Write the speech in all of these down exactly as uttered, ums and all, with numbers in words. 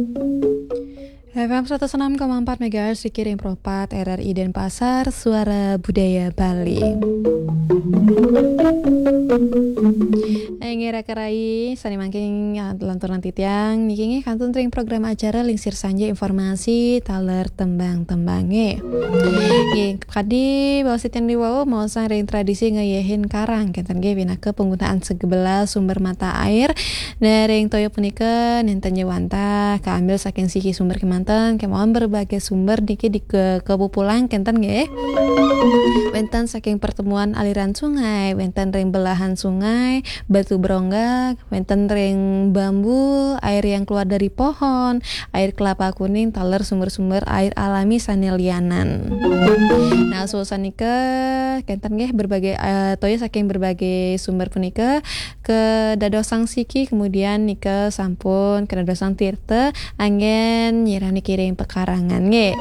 F M seratus enam koma empat megahertz, Sikiring Pro empat, R R I Denpasar, Suara Budaya Bali. Inggih, raka rai, sane mangkin, ah, lanturang titiang niki nggih kantun ring program acara Lingsir Sanja Informasi taler tembang-tembange. Nggih, kadi baos titiang diwau, maosang ring tradisi ngeyehin karang, kenten nggih, pinaka penggunaan segebelah sumber mata air. Nah, ring toya punika nenten ja wantah kaambil saking siki sumber kemanten, kemawon berbagai sumber niki di ke-, kepupulang kenten nggih. Wenten saking pertemuan aliran sungai, wenten ring belahan sungai, batu berongga, wenten ring bambu, air yang keluar dari pohon, air kelapa kuning, taler sumber-sumber air alami sane lianan. Nah, suasanika kenten nggih berbagai, eh, toya saking berbagai sumber punika kadadosang siki, kemudian nika sampun kadadosang tirta, anggen nyirah niki ring pekarangan nggih.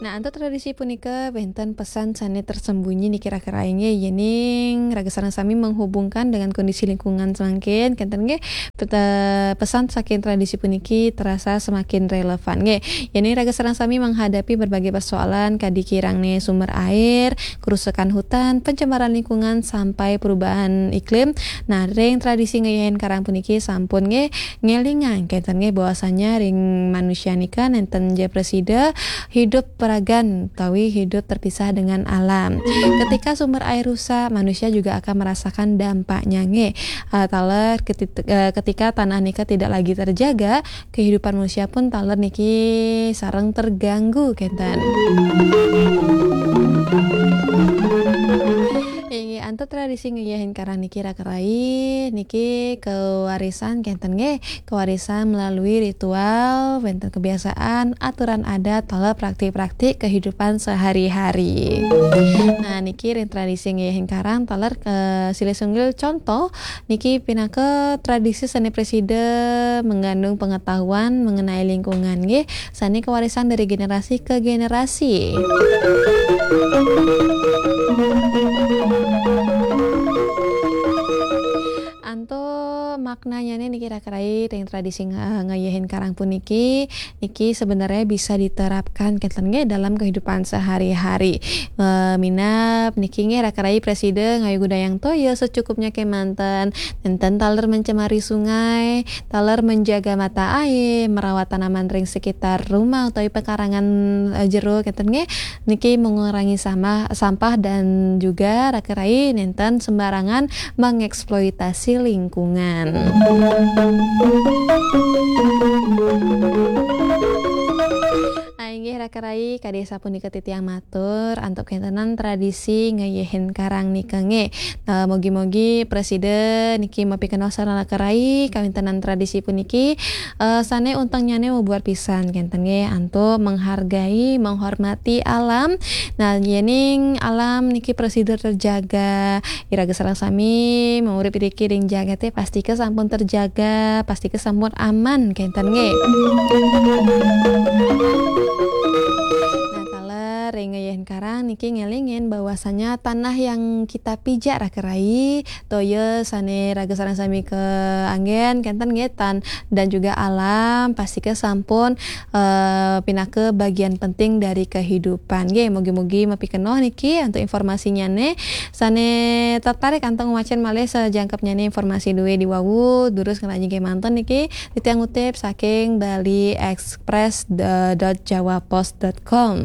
Nah, antuk tradisi punika wenten pesan sane tersembunyi niki raka rai nggih, yening raga sareng sami menghubungkan dengan kondisi lingkungan semangkin, kenten nggih, peta-, pesan saking tradisi puniki terasa semakin relevan nggih. Yening raga sareng sami menghadapi berbagai persoalan kadi kirangne sumber air, kerusakan hutan, pencemaran lingkungan, sampai perubahan iklim. Nah, ring tradisi ngeyehin karang puniki sampun nggih ngelingang kenten nggih bahwasanya ring manusia nika nenten ja prasida hidup peragan utawi hidup terpisah dengan alam. Ketika sumber air rusak, manusia juga akan merasakan dampaknya nggih. Ah, taler ketit-, eh, ketika tanah nika tidak lagi terjaga, kehidupan manusia pun taler niki sareng terganggu kenten. Inggih, antuk tradisi ngeyehin karang niki raka rai, niki kewarisan kenten nggih, kewarisan melalui ritual, wenten kebiasaan, aturan adat, taler praktik-praktik kehidupan sehari-hari. Nah, niki ring tradisi ngeyehin karang taler, eh, silih sinunggil contoh, niki pinaka tradisi sane prasida mengandung pengetahuan mengenai lingkungan nggih, sane kewarisan dari generasi ke generasi. Antuk maknanyane niki raka rai ring tradisi nga-, ngayehin karang puniki, niki sebenarnya bisa diterapkan kenten nggih dalam kehidupan sehari-hari. Eh, minab niki nggih raka rai prasida ngayu gudayang toya secukupnya kemanten, nenten taler mencemari sungai, taler menjaga mata air, merawat tanaman ring sekitar rumah utawi pekarangan, eh, jero kenten nggih. Niki mengurangi sama-, sampah dan juga raka rai nenten sembarangan mengeksploitasi lingkungan. Ah, inggih raka rai, kadi sapunika titiang matur antuk kentenan tradisi ngeyehin karang nika nggih. Eh, mugi-mugi prasida niki mapikenoh sareng raka rai kawintenan tradisi puniki, eh, sane untengnyane mabuat pisan kenten nggih antuk menghargai, menghormati alam. Nah, yening alam niki prasida terjaga, iraga sareng sami mangurip iriki ring jagate pastika sampun terjaga, pastika sampun aman kenten nggih. Nah, taler ring ngeyehin karang niki ngelingin bahwasanya tanah yang kita pijak raka rai, toya sane raga sareng sami kaanggen kenten nggih, tan-, dan juga alam pastika sampun, eh, pinaka bagian penting dari kehidupan nggih. Mugi-mugi mapikenoh niki antuk informasinyane. Sane tertarik antuk ngwacen malih sajangkepnyane informasi duwe diwawu, durus ngrajin kemanten niki. Titiang ngutip saking Bali Express dot jawapost dot com.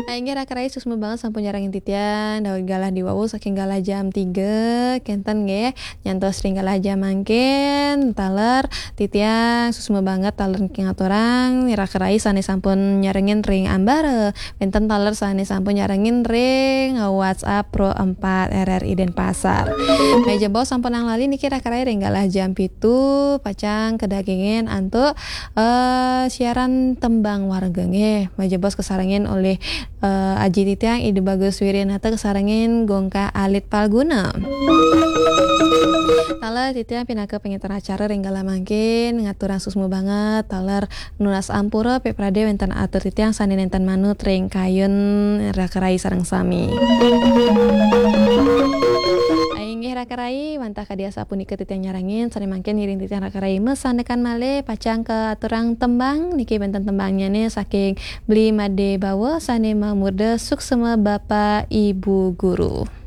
Ah, inggih raka rai, suksma banget sampun nyarengin titiang daweg galah diwawu saking galah jam tiga kenten nggih. Nyantos ring galah jam mangkin taler titiang suksma banget taler niki ngaturang raka rai sane sampun nyarengin ring ambara. Wenten taler sane sampun nyarengin ring WhatsApp Pro empat R R I Denpasar. Meja bos sampun nang lali niki raka rai ring galah jam pitu pacang kadagingin antuk, eh, siaran tembang warga nggih. Meja bos kasarengin olih, eh, Aji titiang Ida Bagus Wirinata kasarengin Gongka Alit Palguna. Taler titiang pinaka pangenter acara ring galah mangkin ngaturang suksma banget taler nunas ampura pepradé wénten atur titiang sané nénten manut ring kayun raka rai sareng sami. Inggih Rakarai, wantah kadi asapunika titiang nyarengin, sane mangkin ngiring titiang rakarai masandekan malih, pacang kaaturang tembang, niki wenten tembangnyane saking Bli Made Bawa sane mamurda Suksema Bapa Ibu Guru.